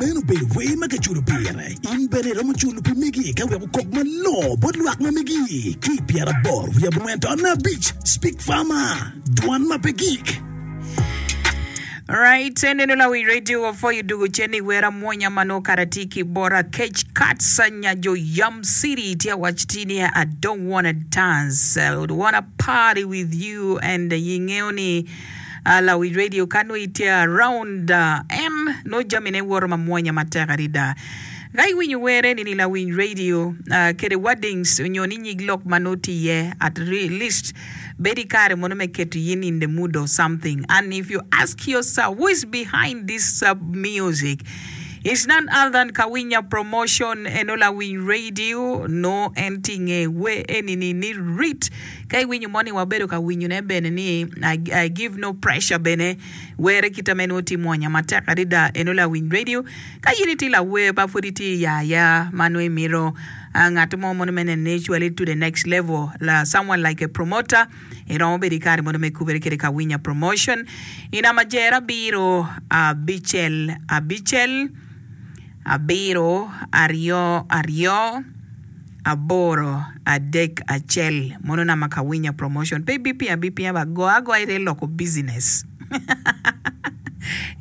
Meno obedo wer ma kiculo pire. In bene iromo culo pi megi ka wek okok malongo bot lwak ma megi ki i pyeraboro wiye abongwen taun abic. Speak Farmer, Dwan ma pe gik. Right, eneno lawi radio wapwoyo dugo cen i wer amwonya ma nongo kara tye ki bota Kec Kats nyajo Yam City tye awac ti ni I don't wanna dance, I wanna party with you and ingeyo ni Lawic radio ka nongo itye around en nongo jamine woto mamwonya matek adada. Ka iwinyo wer eni ni lawiny radio kede wordings onyo ni nyig lok ma nongo tye iye at least bedo i kare mono me keto in in the mood of something and if you ask yourself who is behind this music it's none other than Kawinya promotion eno lawiny radio nongo en tye inge wer eni ni ni rit Ka iwinyo mo ni wabedo ka winyone bene ni I give no pressure bene were kita me nwo tye mwonya matek adada eno lawiny radio. Ka in itye lawer ma pwod itye i aya ma nwo imito ngat mo mono me neno ni cwali to the next level la someone like a promoter iromo bedo ikare mono me kubere kede Kawinya promotion i namba jer abiro abicel abicel abiro aryo aryo aboro adek acel mono nama ka winya promotion pe ibipinyo abipinya ba go agoya ite loko business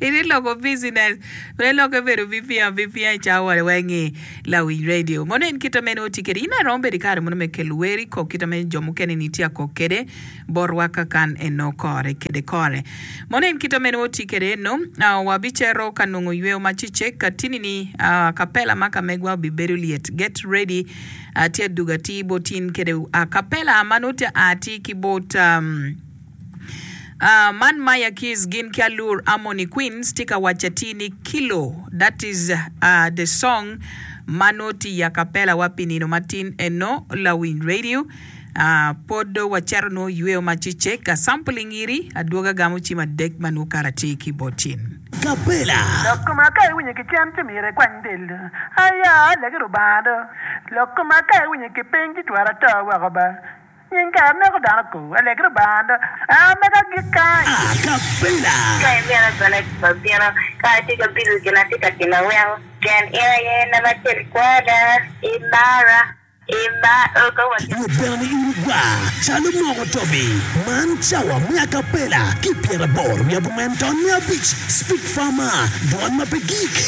ite loko business pe loke bedo bipinyo abipinya i cawa weng i lawiny radio mono en kite meno tye kede in aye romo bedo i kare mono me kelo wer i kok kite me jo mukene ni tye akok kede botwa kakan eno kore kede kore. Mono en kite mene woti kede eno? Wabicito ka nongo yweyo ma cecek ka tini ni kapela ma ka megwa obibedo lyet. Get ready tye adugo atir bot in kede kapela ma nongo tye a atir ki bot man Maya Keys gin ki Allure Harmony Queens tye ka waco atir ni kilo that is the song ma nongo tye i akapela wa pi nino matin eno lawiny radio. Pwod do wacito nwo yweyo ma cecek ka sampling iri adwoga gamo cim adek ma nwo kara tye ki bot cin. Kapela. Lok koma ka iwinyo ki cen ci myero ikwany del do. Aya, alegi Rubanga do. Lok koma ka iwinyo ki piny ci twero ato woko ba. Nying kara neko dano ko. Alegi Rubanga do. A mega agik kany. Acapella. Ka imito bene wabino, ka atye ka bilo gin atye ka timo weko, pien in aye namba acel i kwona, imara. Rwot bene ni in igwar calo moko tobi. Man cawa me acapella ki pyeraboro wiye abongwen ton me abic Speak Farmer, dwon ma pe gik.